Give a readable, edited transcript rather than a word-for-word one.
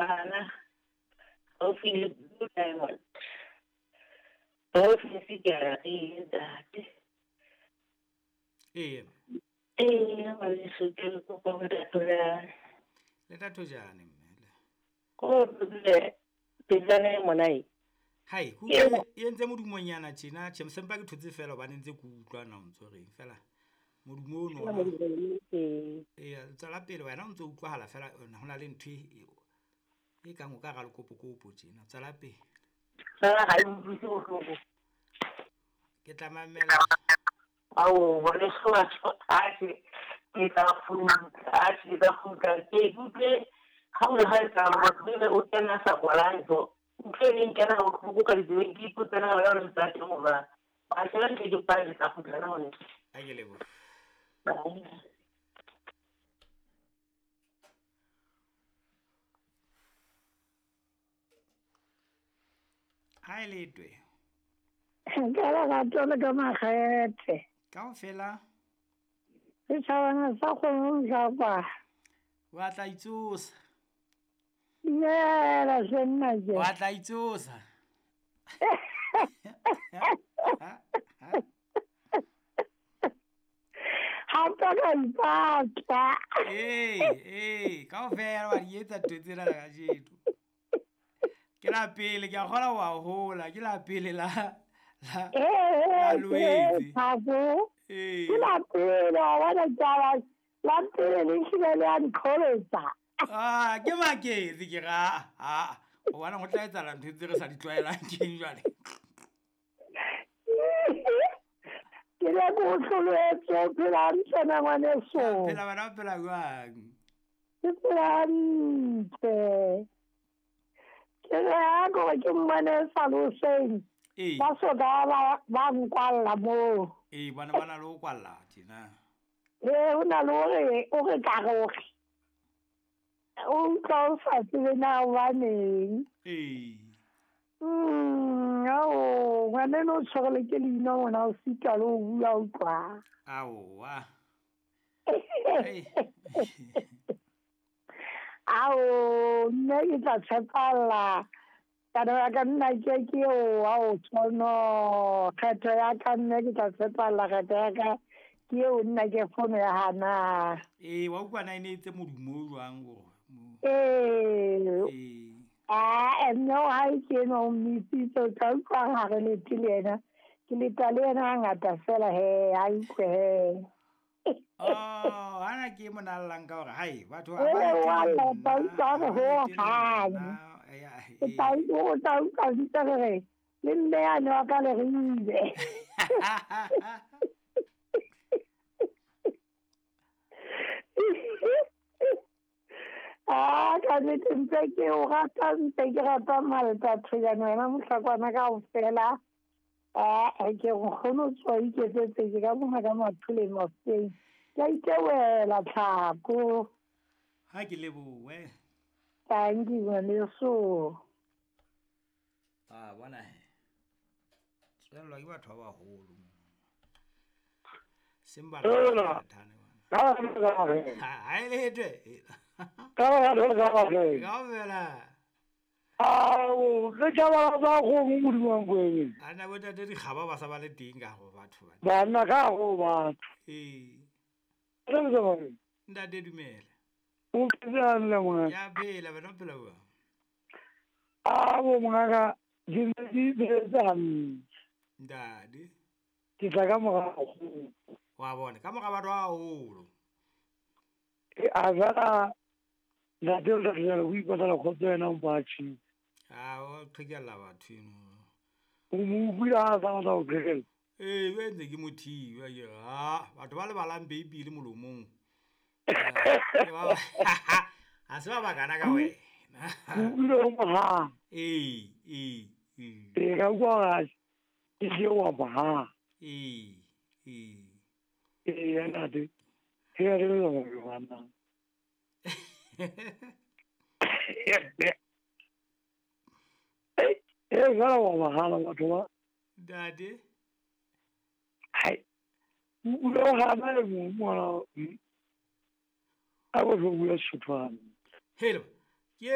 Bana haufi le Blue Diamond. Province ke a re ntate. Ee. Ee, ngwaneso ke re kopa ho ntate. Le Thojane mme. Ko le pejana mona e. Hai, ku e entse modumonyana tjena, tjhe msempa ke thotse fela hobane ntse ke utlwa na o ntso reng fela. Modumo ono. Ee, tswela pele wena o ntso utlwahala fela hona le ntho e kang o ka ra lekopokopo tjena. Tswela pele. Fela ha e utlwise bohloko. Ke tla mamela. Ao, ngwaneso atjhe ke tla kgutla, ke utlwe ha o le ha etsa motho o kena sa kwala ntho. Utlwe le nkena bohloko ka ditsebeng, ke ipotsa na wena o le ntate mo ba. Ba tla ke ke pale tla kgutla na hone. A ke leboha. Ha e letwe. Ka lerato le ka makgethe. Kaofela. Setjhabana sa kgone ho japa. Wa tla itsosa. Dumela hle nna ke. Wa tla itsosa. Hape ka ipatla. Ee, kaofela wa di etsa ntho tsena kajeno. Ke la pele ke a kgona ho a hola, ke la pele la la Loetse. Ee. Ke la pele wa bona taba la pele le hlile le a nqholetsa. Ah, ke maketse ke ra a o bona ho tla etsahala ntho tse re sa di tlwaelang keng jwale. Ke le go hloletse o phela hantle na ngwaneso. Phela bana o phela jwang? Ke phela hantle. Ke re a gore ke mmone sa loseng. Ba soka ba nkwalla moo. Ee, bona ba na le ho kwalla tjena. Ee, ho na le hore o re ka re hore o utlwa o sa tsebe na hobaneng. Ee. Ao, ngwaneno o tshwarele ke leina mona o sitwa le ho bua utlwa. Aowa. Ao, nne ke tla tshepalla. Taba ya ka nna ke eo ao tshwano. Kgetho ya ka nne ke tla tshepalla kgetho ya ka ke eo nna ke fono ya hana. Ee, wa utlwa na e ne etse modumo o jwang o? Ee. Ah, mme o hae ke eno o mmisitse o tla utlwa ha re lete le yena. Ke leta le yena hangata fela he, ha utlwe he. Oh, hana ke mona llang ka hore hai batho ba ba ba utlwa ho hang. O tla utlwa ntse re re le mme yane wa ka le re ile. Ah, ka nnete ntse ke o rata ntse ke rata Malta Thojane wena mohlakwana kaofela. Ah, ke nkgono o tswa iketsetse ke ka mona ka Mathuleng Mafeteng. Ke a itewela tlhako. Ha ke lebohe. Thank you ngwaneso. Ah, bona he. Tswellwa ke batho ba baholo. Simba la thane. Ha e letwe. Ka Kaofela. Ao, le tjaba ba go modimo wa ngweng. Ana bo tate dikgaba ba sa ba le teng ka go batho ba. Bana ka go batho. Ee. Re le ba. Ntate dumela. O phela le ngwana. Ya phela bana phela bua. Ao mongaka ke ne ke phetse hantle. Ntate. Ke tla ka morago. Wa bona ka mora batho ba haholo. E a jala ntate o tla tlohela ho ipatlela kgotso yena o mpatjhitse. Ah, o qhekella batho eno. O mo utlwile ha a sa batla ho qhekella? Ee, ba entse ke mo thiba ke re ha batho ba lebalang Beibele molomong. Ha se ba bakana ka wena. O utlwile o moha. Ee, ee, ee. Ee, ka utlwa hore ke tle wa moha. Ee, ee. Ee, ntate. Ke a re le ngwana. Ee, jwale wa mahala batho ba. Ntate. Hai. O lo hana le mong mona. A go tlo bua Sesotho. Hello.